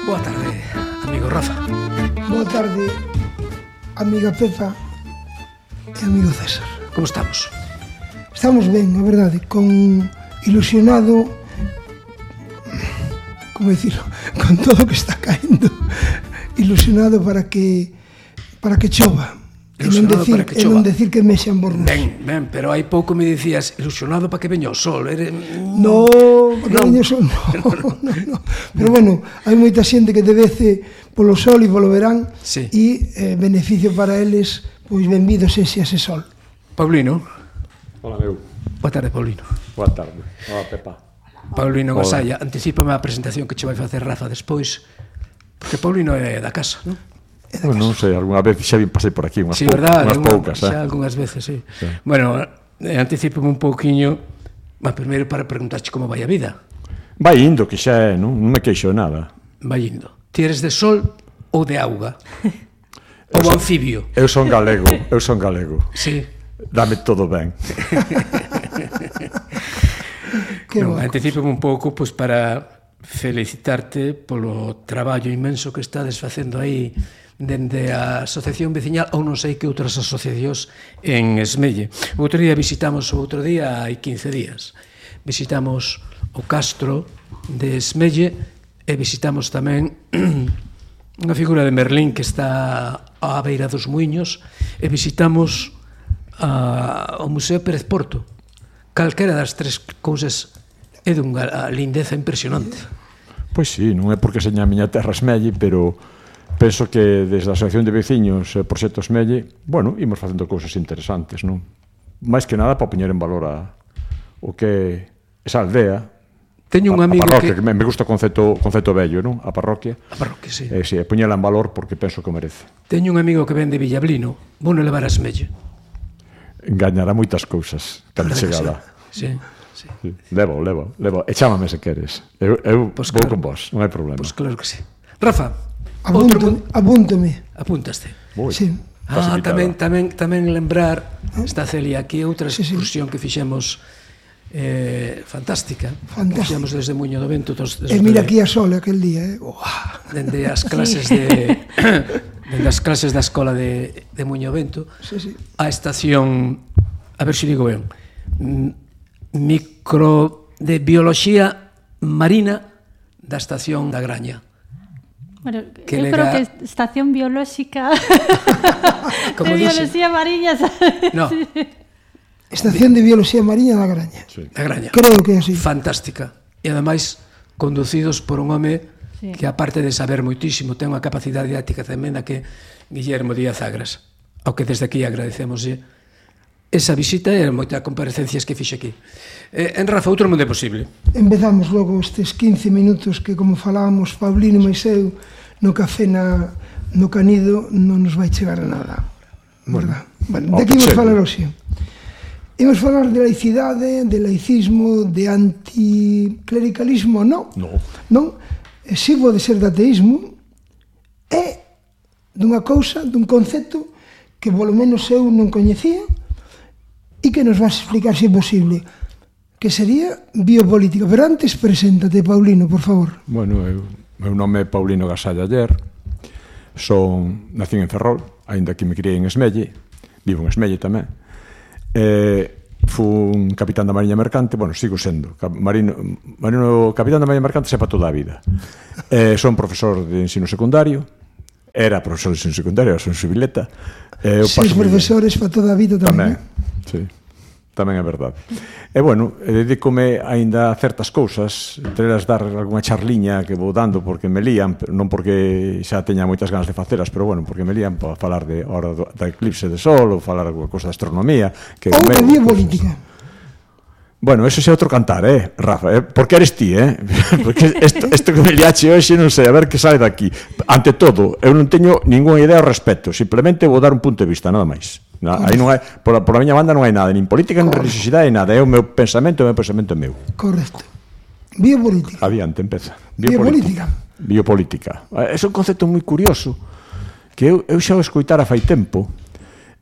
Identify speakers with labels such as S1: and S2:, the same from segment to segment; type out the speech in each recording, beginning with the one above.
S1: Boa tarde, amigo Rafa.
S2: Boa tarde, amiga Pepa e amigo César.
S1: Como estamos?
S2: Estamos ben, a verdade, con ilusionado, como dicirlo, con todo o que está caendo, ilusionado para que chova. E non decir que mexan bornos.
S1: Ben, pero hai pouco me dicías ilusionado para que veña o sol.
S2: No, para que veña o sol, no. Pero bueno, hai moita xente que devece polo sol e polo verán, e beneficio para eles, pois benvido sexe ese sol.
S1: Paulino.
S3: Hola, meu.
S1: Boa tarde, Paulino.
S3: Boa tarde. Hola, Pepa.
S1: Paulino Gasalla, anticípame a presentación que che vai facer Rafa despois, porque Paulino é da casa, non?
S3: Non sei, algunha vez xa pasei por aquí, unhas poucas.
S1: Xa algunhas veces, sí. Bueno, anticípame un pouquiño, mas primeiro para preguntarche como vai a vida.
S3: Vai indo, que xa é, non me queixo de nada.
S1: Vai indo. Ti eres de sol ou de auga? Ou anfibio?
S3: Eu son galego.
S1: Sí.
S3: Dame todo ben.
S1: Anticípame un pouco, pois, para felicitarte polo traballo inmenso que estades facendo aí dende a Asociación Veciñal ou non sei que outras asociacións en Esmelle. Outro día hai 15 días, visitamos o castro de Esmelle e visitamos tamén unha figura de Merlín que está á beira dos muiños e visitamos o Museo Pérez Porto. Calquera das tres cousas é dunha lindeza impresionante.
S3: Pois sí, non é porque seña a miña terra Esmelle, pero penso que desde a Asociación de Veciños e Proxecto Esmelle, bueno, imos facendo cousas interesantes, non? Mais que nada para poñer en valor o que esa aldea,
S1: teño un amigo
S3: que me gusta o concepto vello, non? A parroquia.
S1: A parroquia, sí.
S3: Si, poñela en valor porque penso que o merece.
S1: Teño un amigo que ven de Villablino, vou non levar a Esmelle.
S3: Engañará moitas cousas cando chegada.
S1: Sí.
S3: Levo. E chámame se queres. Eu vou con vos, non hai problema.
S1: Pois claro que sí. Rafa,
S2: apúntame.
S1: Apúntaste.
S2: Sí.
S1: Tamén lembrar, está Celia aquí, outra excursión que fixemos fantástica. Fixemos desde Muiño do Vento.
S2: E mira aquí a Sol aquel día,
S1: dende as clases da escola de Muiño do Vento a estación, a ver se digo ben, micro de bioloxía marina da estación da Graña.
S4: Bueno, eu creo que estación biolóxica de bioloxía marina.
S1: No.
S2: Estación de bioloxía marina da Graña.
S1: Da Graña.
S2: Creo que é así.
S1: Fantástica. E ademais conducidos por un home que aparte de saber moitísimo ten unha capacidade didáctica tremenda que Guillermo Díaz Agras, ao que desde aquí agradecemoslle esa visita e moitas comparecencias que fixe aquí. En Rafa, outro mundo é posible.
S2: Empezamos logo estes 15 minutos que, como falábamos Paulino e eu, no café no Canido non nos vai chegar a nada, verdad? De que imos falar hoxe? Imos falar de laicidade, de laicismo, de anticlericalismo, non? Non? Si pode ser de ateísmo, é dunha cousa, dun concepto que polo menos eu non coñecía e que nos vas explicar se é posible, que sería biopolítica. Pero antes, preséntate, Paulino, por favor.
S3: Bueno, meu nome é Paulino Gasalla Aller, nací en Ferrol, aínda que me criei en Esmelle, vivo en Esmelle tamén. Fui un capitán da Mariña Mercante, bueno, sigo sendo capitán da Mariña Mercante para toda a vida. Son profesor de ensino secundario, era profesor de ensino secundario, son xubileta.
S2: Seis profesores para toda a vida tamén.
S3: Sí, tamén é verdade. E bueno, dedícome aínda a certas cousas, entre elas dar algunha charliña que vou dando porque me lían, non porque xa teña moitas ganas de facelas, pero bueno, porque me lían para falar de hora da eclipse de sol ou falar alguna cousa de astronomía que
S2: ou de biopolítica.
S3: Bueno, eso é outro cantar, Rafa, porque eres ti, porque isto que me liache hoxe non sei, a ver que sai daqui. Ante todo, eu non teño ninguna idea ao respecto, simplemente vou dar un punto de vista, nada máis. Aí non hai, por a miña banda non hai nada, nin política, nin religiosidade, nada, é o meu pensamento é meu.
S2: Correcto. Biopolítica.
S3: Adiante, empeza.
S2: Biopolítica.
S3: É un concepto moi curioso que eu xa o escoitara fai tempo,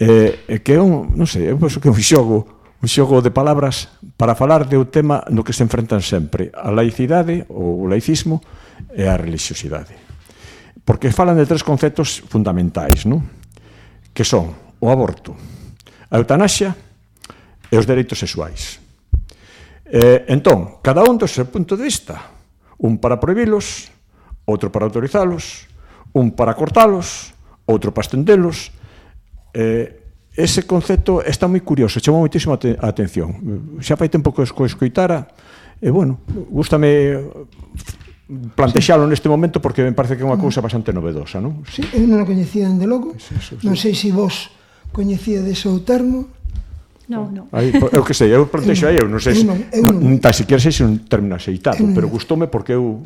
S3: que é non sei, eu penso que é un xogo de palabras para falar de un tema no que se enfrentan sempre a laicidade ou o laicismo e a religiosidade. Porque falan de 3 conceptos fundamentais, non? Que son o aborto, a eutanasia e os dereitos sexuais. Entón, cada un do seu punto de vista, un para prohibilos, outro para autorizalos, un para cortalos, outro para estendelos. Ese concepto está moi curioso, chamou moitísimo a atención. Xa fai tempo que o escoitara, e, bueno, gústame plantexalo neste momento porque me parece que é unha cousa bastante novedosa, non?
S2: Sí, eu non o coñecía dende logo. Non sei se vos coñecíades o termo.
S4: Non.
S3: Eu que sei, eu plantexo aí, eu non sei se tan siquiera sei se un término aceitado, pero gustoume porque eu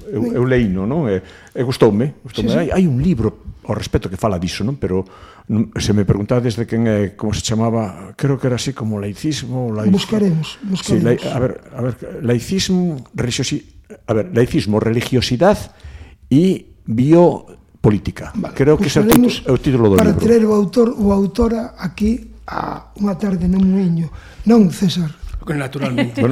S3: leíno, non? E gustoume. Hai un libro ao respecto que fala diso, non? Pero se me preguntades de quen é, como se chamaba, creo que era así como laicismo.
S2: Buscaremos.
S3: Sí, a ver, laicismo, religiosidade e biopolítica.
S2: Vale,
S3: creo que ese é o título do libro.
S2: Para traer o autor ou autora aquí a unha tarde no Muiño. Non, César?
S1: Naturalmente.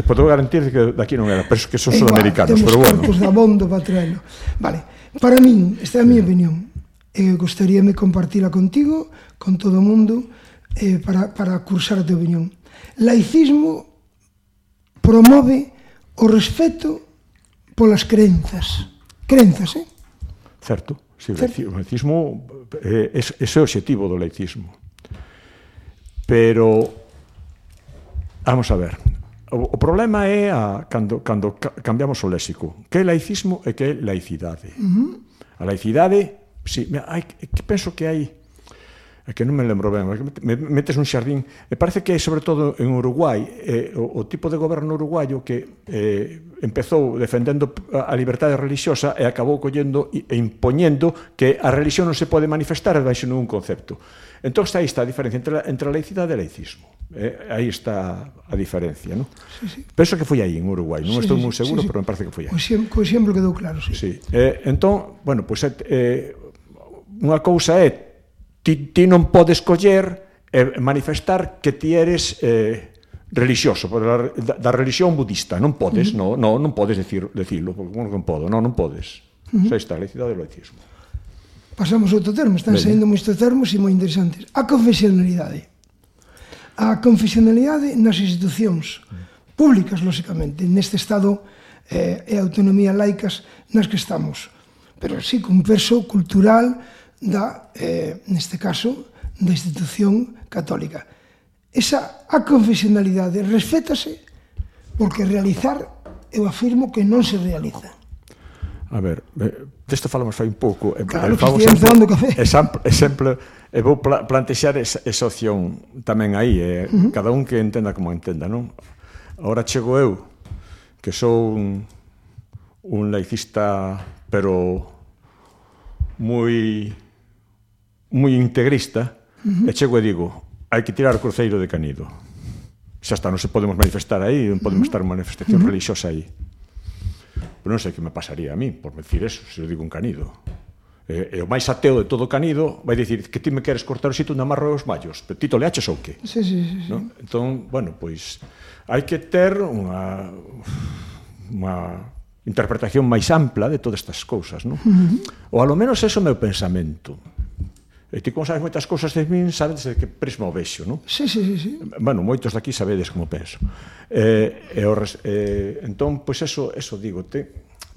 S3: Podo garantir que daqui non era, pero que son sudamericanos, pero bueno.
S2: Temos cartos da Bondo para traerlo. Vale, para min, esta é a minha opinión. Gostaríame compartila contigo, con todo o mundo, para cursar a tua opinión. Laicismo promove o respeto polas crenzas. Crenzas,
S3: Certo, sí, o laicismo ese é o obxectivo do laicismo. Pero, vamos a ver, o problema é cando cambiamos o léxico. Que é laicismo e que é laicidade. A laicidade, sí, penso que hai, é que non me lembro ben, me metes nun xardín, e parece que é sobre todo en Uruguai, o tipo de goberno uruguayo que empezou defendendo a liberdade religiosa e acabou collendo e impoñendo que a religión non se pode manifestar baixo ningún concepto. Entón, aí está a diferencia entre a laicidade e o laicismo. Aí está a diferencia, non?
S2: Sí.
S3: Penso que foi aí, en Uruguai. Non estou moi seguro, pero me parece que foi aí.
S2: Co exemplo quedou claro, sí.
S3: Entón, bueno, pois unha cousa é ti non podes coller e manifestar que ti eres religioso, da religión budista. Non podes, non podes decirlo, porque non podo, non podes. Xa está, a laicidade e o laicismo.
S2: Pasamos a outro termo, están saindo moitos termos e moi interesantes. A confesionalidade. A confesionalidade nas institucións públicas, lóxicamente, neste estado e autonomía laicas nas que estamos. Pero sí, con peso cultural neste caso, da institución católica. A confesionalidade respétase porque realizar, eu afirmo que non se realiza.
S3: A ver, desto falamos fai un pouco.
S2: Claro, que estivemos tomando café.
S3: Exemplo, e vou plantexar esa opción tamén aí, cada un que entenda como entenda, non? Ahora chego eu, que sou un laicista, pero moi integrista, e chego e digo, hai que tirar o cruceiro de Canido. Xa está, non se podemos manifestar aí, non podemos estar en manifestación religiosa aí. Pero non sei que me pasaría a mí por decir eso, se eu digo un Canido. E o máis ateo de todo Canido vai dicir que ti me queres cortar o sitio onde amarro os mallos, pero ti toleaches ou que?
S2: Sí.
S3: Entón, bueno, pois hai que ter unha interpretación máis ampla de todas estas cousas, non? Ou alo menos eso é o meu pensamento. E ti, como sabes moitas cousas de min, sabes de que prisma o vexo, non?
S2: Sí.
S3: Bueno, moitos daqui sabedes como penso. Entón, pois eso digo,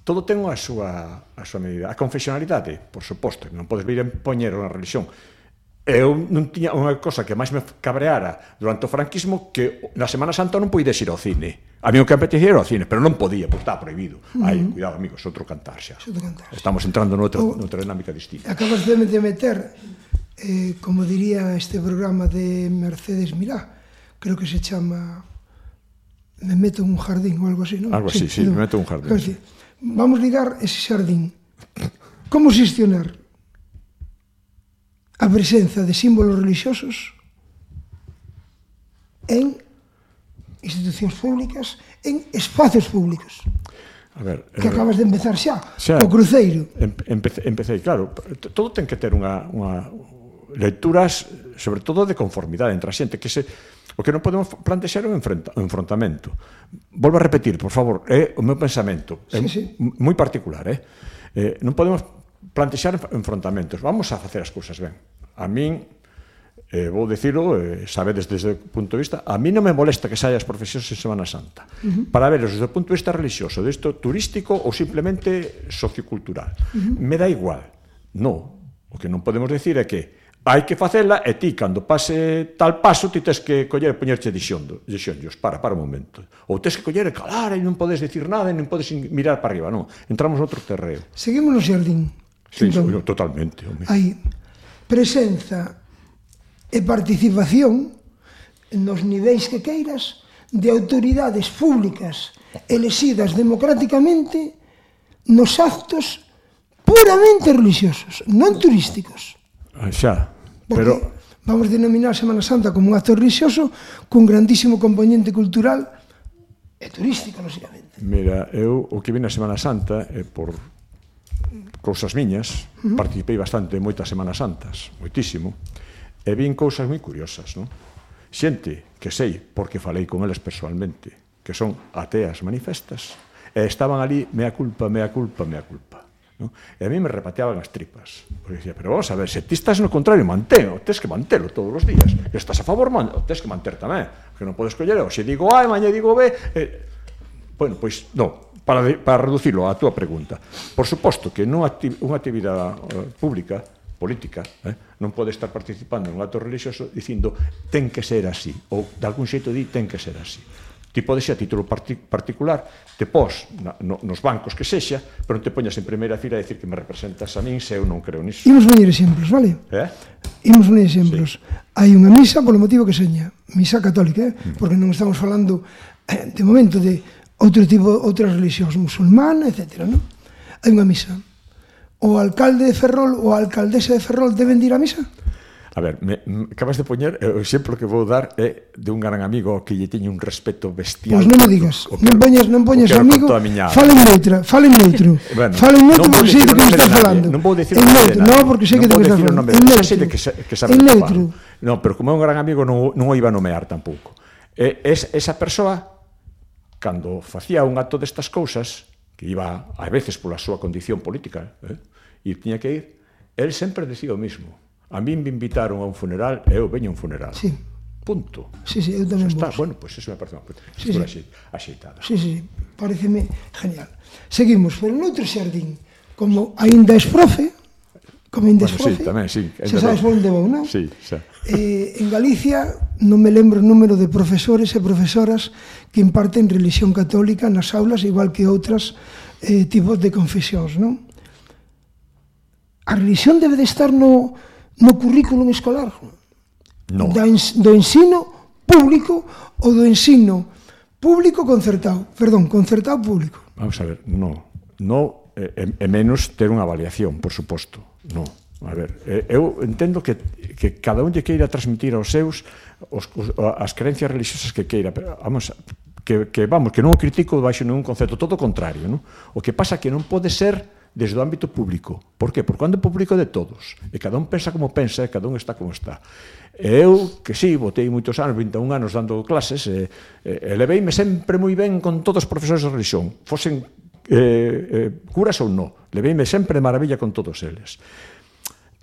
S3: todo ten a súa medida. A confesionalidade, por suposto, non podes vir a impoñer unha religión. Eu non tiña unha cosa que máis me cabreara durante o franquismo, que na Semana Santa non poides ir ao cine. A mí o que apetecía era ao cine, pero non podía, porque estaba prohibido. Cuidado, amigos, outro cantar xa. Estamos entrando noutra dinámica distinta.
S2: Acabas de meter, como diría este programa de Mercedes Milá, creo que se chama Me meto en un jardín ou algo así, non?
S3: Algo así, sí, me meto en un jardín.
S2: Vamos ligar ese xardín. Como xestionar a presenza de símbolos religiosos en institucións públicas, en espacios públicos?
S3: A ver,
S2: que acabas de empezar xa o cruceiro.
S3: Empecé, claro, todo ten que ter unha lecturas, sobre todo de conformidade entre a xente, que O que non podemos plantexar é un enfrontamento. Volvo a repetir, por favor, é o meu pensamento. É moi particular, non podemos plantexar enfrontamentos. Vamos a facer as cousas ben. A min, vou dicilo, sabedes desde o punto de vista, a mí non me molesta que saia as profesións en Semana Santa, para verlos desde o punto de vista religioso, desto turístico ou simplemente sociocultural. Me dá igual. No, o que non podemos decir é que hai que facela e ti, cando pase tal paso, ti tens que coller e poñerche dixonllos, para un momento. Ou tens que coller e calar e non podes decir nada e non podes mirar para arriba, non. Entramos noutro terreo.
S2: Seguimos no xardín.
S3: Sí, totalmente.
S2: Hai presenza e participación nos niveis que queiras de autoridades públicas elexidas democráticamente nos actos puramente religiosos, non turísticos.
S3: Xa,
S2: pero vamos denominar Semana Santa como un acto religioso cun grandísimo componente cultural e turístico, lógicamente.
S3: Mira, eu o que vi na Semana Santa por cousas miñas, participei bastante en moitas Semanas Santas, moitísimo, e vin cousas moi curiosas, non? Xente que sei, porque falei con eles personalmente, que son ateas manifestas, e estaban ali, mea culpa, mea culpa, mea culpa. No? E a mí me repateaban as tripas, porque dicía, pero vamos a ver, se ti estás no contrario, manteno, tens que mantelo todos os días, e estás a favor, tens que manter tamén, que non podes coller, se digo A, mañá digo B, bueno, pois, non, para reducirlo a túa pregunta, por suposto que unha actividade pública, política, non pode estar participando en un acto religioso dicindo, ten que ser así, ou de algún xeito di, ten que ser así. Ti podes ser a título particular, te pos nos bancos que sexa, pero non te poñas en primeira fila a decir que me representas a min se eu non creo niso.
S2: Imos poñer exemplos, vale? Imos poñer exemplos. Hai unha misa, polo motivo que seña, misa católica, porque non estamos falando de momento de outras religións, musulmana, etc. Hai unha misa. O alcalde de Ferrol ou a alcaldesa de Ferrol deben ir á misa?
S3: A ver, acabas de poñer, o exemplo que vou dar é de un gran amigo que lle teño un respeto bestial.
S2: Pois non me digas, non poñes amigo, falen neutro, falen neutro porque sei de que me está falando.
S3: Non vou dicir
S2: non, porque sei que de que está falando.
S3: En neutro. Non, pero como é un gran amigo non o iba a nomear tampouco. Esa persoa, cando facía un acto destas cousas, que iba a veces pola súa condición política, e tiña que ir, el sempre decía o mismo. A min me invitaron a un funeral e eu veño a un funeral.
S2: Sí.
S3: Punto.
S2: Sí, eu tamén vos.
S3: Bueno, pois eso me parece unha postura axeitada.
S2: Sí, pareceme genial. Seguimos, pero noutro xardín, como aínda es profe,
S3: Sí, tamén, sí.
S2: Xa sabes por onde vou, non?
S3: Sí, xa.
S2: En Galicia non me lembro o número de profesores e profesoras que imparten religión católica nas aulas, igual que outras tipos de confesións, non? A religión debe de estar no currículum escolar,
S3: no.
S2: Do ensino público ou do ensino público concertado, concertado público.
S3: Vamos a ver, no é menos ter unha avaliación, por suposto, no. A ver, eu entendo que cada un lle queira transmitir aos seus as creencias religiosas que queira, pero que non o critico baixo ningún concepto, todo o contrario, non? O que pasa é que non pode ser desde o ámbito público. Por qué? Porque o ámbito público é de todos. E cada un pensa como pensa e cada un está como está. E eu, que sí, botei moitos anos, 21 anos dando clases, e leveime sempre moi ben con todos os profesores de religión, fosen curas ou non. Leveime sempre de maravilla con todos eles.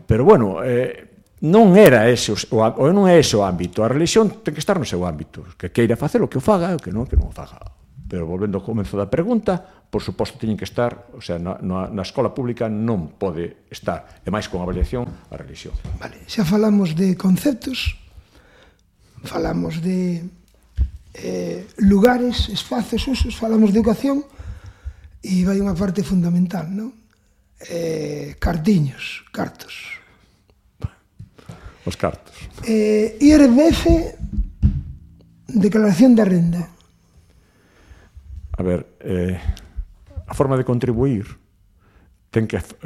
S3: Pero, bueno, non era ese, ou non é ese o ámbito. A religión ten que estar no seu ámbito. Que queira facer o que o faga, o que non o faga. Pero volvendo ao comezo da pregunta, por suposto teñen que estar, o sea, na escola pública non pode estar, e máis con avaliación, a religión.
S2: Vale, xa falamos de conceptos, falamos de lugares, espacios, usos, falamos de educación, e vai unha parte fundamental, non? Cartos.
S3: Os cartos.
S2: IRPF, declaración da renda.
S3: A ver, a forma de contribuir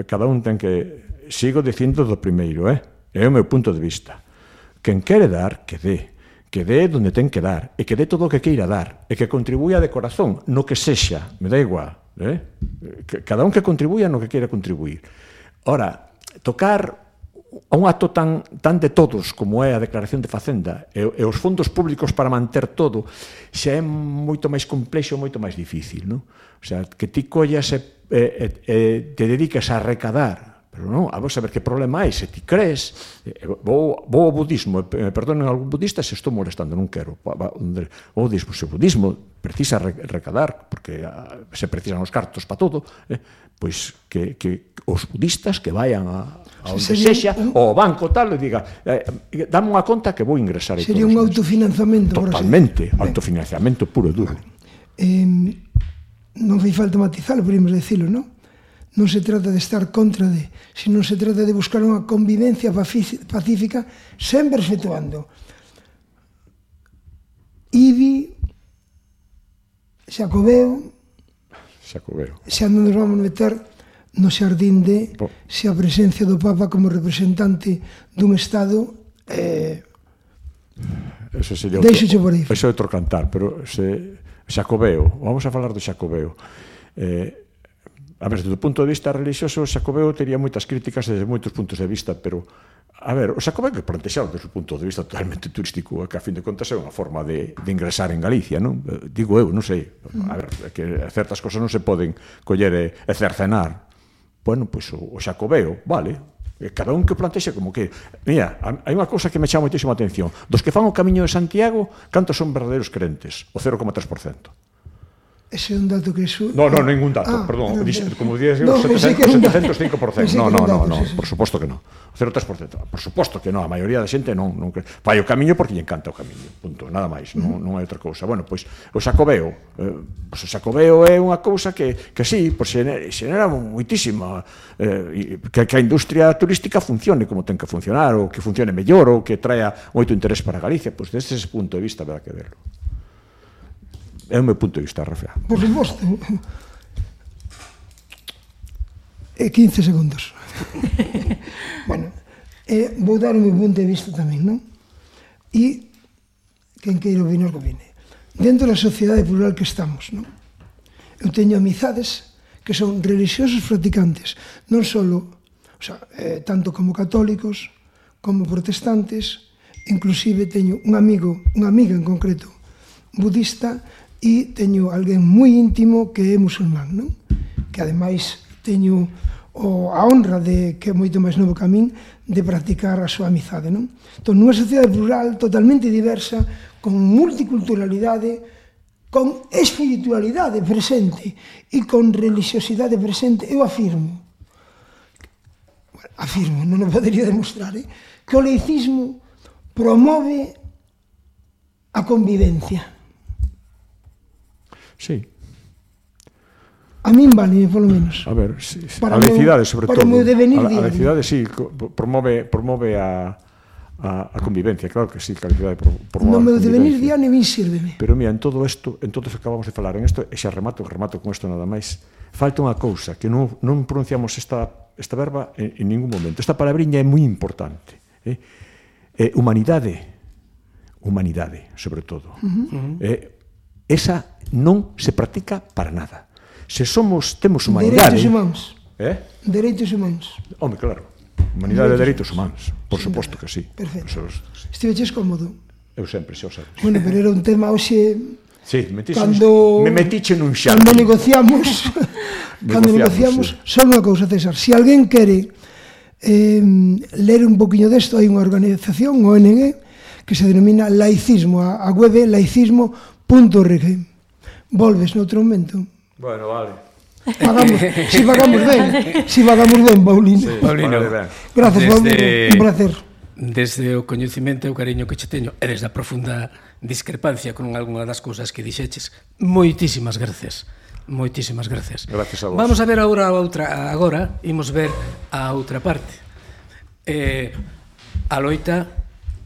S3: cada un ten que, sigo dicindo do primeiro, é o meu punto de vista. Quen quere dar, que dé onde ten que dar, e que dé todo o que queira dar, e que contribuya de corazón, no que sexa, me dá igual, cada un que contribuya no que queira contribuir. Ora, tocar a un acto tan de todos como é a declaración de Facenda e os fondos públicos para manter todo xa é moito máis complexo, moito máis difícil, non? O sea, que ti collas e te dedicas a recadar, pero non, a saber que problema hai, se ti crees, vou ao budismo, me perdonen algún budista se estou molestando, non quero, o budismo precisa recadar, porque se precisan os cartos para todo, pois que os budistas que vayan a onde sexa, ao banco tal, e diga, dame unha conta que vou ingresar.
S2: Sería un autofinanciamento.
S3: Totalmente, autofinanciamento puro e duro.
S2: Non fai falta matizalo, podemos decirlo, non? Non se trata de estar contra de, sino se trata de buscar unha convivencia pacífica, sempre efectuando IBI, Xacobeo, xa non nos vamos meter no xardín de se a presencia do Papa como representante dun Estado deixo por aí.
S3: Eso é outro cantar, pero Xacobeo, vamos a falar do Xacobeo. A ver, desde o punto de vista religioso, o Xacobeo tería moitas críticas desde moitos puntos de vista, pero, a ver, o Xacobeo que plantexaron desde o punto de vista totalmente turístico, que a fin de contas é unha forma de ingresar en Galicia, non? Digo eu, non sei, a ver, que certas cosas non se poden coller e cercenar. Bueno, pois o Xacobeo, vale, cada un que plantexe como que, mira, hai unha cousa que me chama moitísima atención, dos que fan o Camiño de Santiago, cantos son verdadeiros crentes? O 0,3%.
S2: Ese é un dato que...
S3: No, ningún dato, perdón. Como dices, 705%. No, por suposto que non. 0,3%. Por suposto que non, a maioría da xente non fai o camiño porque lle encanta o camiño. Punto, nada máis, non hai outra cousa. Bueno, pois o Xacobeo. O Xacobeo é unha cousa que sí, xenera moitísima que a industria turística funcione como ten que funcionar, ou que funcione mellor, ou que traia moito interés para Galicia. Pois desde ese punto de vista haberá que verlo. É o meu punto de vista, Rafael.
S2: Por suposto. 15 segundos. Bueno, vou dar o meu punto de vista tamén, non? E quen queira opinar que opine. Dentro da sociedade plural que estamos, non? Eu teño amizades que son religiosos practicantes, non só, o sea, tanto como católicos, como protestantes, inclusive teño un amigo, unha amiga en concreto, budista, e teño alguén moi íntimo que é musulmán, non? Que ademais teño a honra de que é moito máis novo que a min de practicar a súa amizade, non? Entón, nunha sociedade plural totalmente diversa, con multiculturalidade, con espiritualidade presente e con religiosidade presente, eu afirmo, non o podería demostrar, que o laicismo promove a convivencia.
S3: Sí.
S2: A min vale, polo menos.
S3: A ver, sí, a laicidade, sobre todo.
S2: Para o meu devenir diario.
S3: A laicidade, sí, promove a convivencia, claro que sí, que a laicidade promove a convivencia.
S2: No meu devenir diario, min sírveme.
S3: Pero, mira, en todo isto, en todo isto que acabamos de falar, en isto, e xa remato con isto nada máis, falta unha cousa, que non pronunciamos esta verba en ningún momento. Esta palabriña é moi importante. Humanidade, sobre todo. Esa non se practica para nada. Se temos humanidade...
S2: Dereitos humanos.
S3: Dereitos humanos. Home, claro. Humanidade e dereitos humanos. Por suposto que sí.
S2: Perfecto. Estiveches cómodo?
S3: Eu sempre, xa o sabes.
S2: Bueno, pero era un tema hoxe...
S3: Sí, me metiche nun xardín.
S2: Cando negociamos, só unha cousa, César. Se alguén quere ler un poquinho desto, hai unha organización, ONG, que se denomina laicismo. A web é laicismo.org. Volves noutro momento?
S3: Bueno, vale.
S2: Si pagamos ben, Paulino.
S1: Sí, Paulino,
S2: gracias, Paulino, un placer.
S1: Desde o coñecemento e o cariño que che teño e desde a profunda discrepancia con algunha das cousas que dixeches, moitísimas gracias. Moitísimas gracias.
S3: Gracias a vos.
S1: Vamos a ver agora imos ver a outra parte. A loita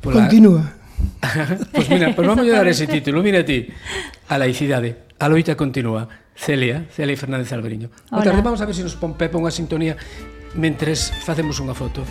S2: continúa.
S1: Pois mira, vamos a dar ese título. Mira ti, a laicidade, a loita continúa. Celia Fernández Alberiño. Boa tarde, vamos a ver se nos pon Pepe unha sintonía mentres facemos unha foto.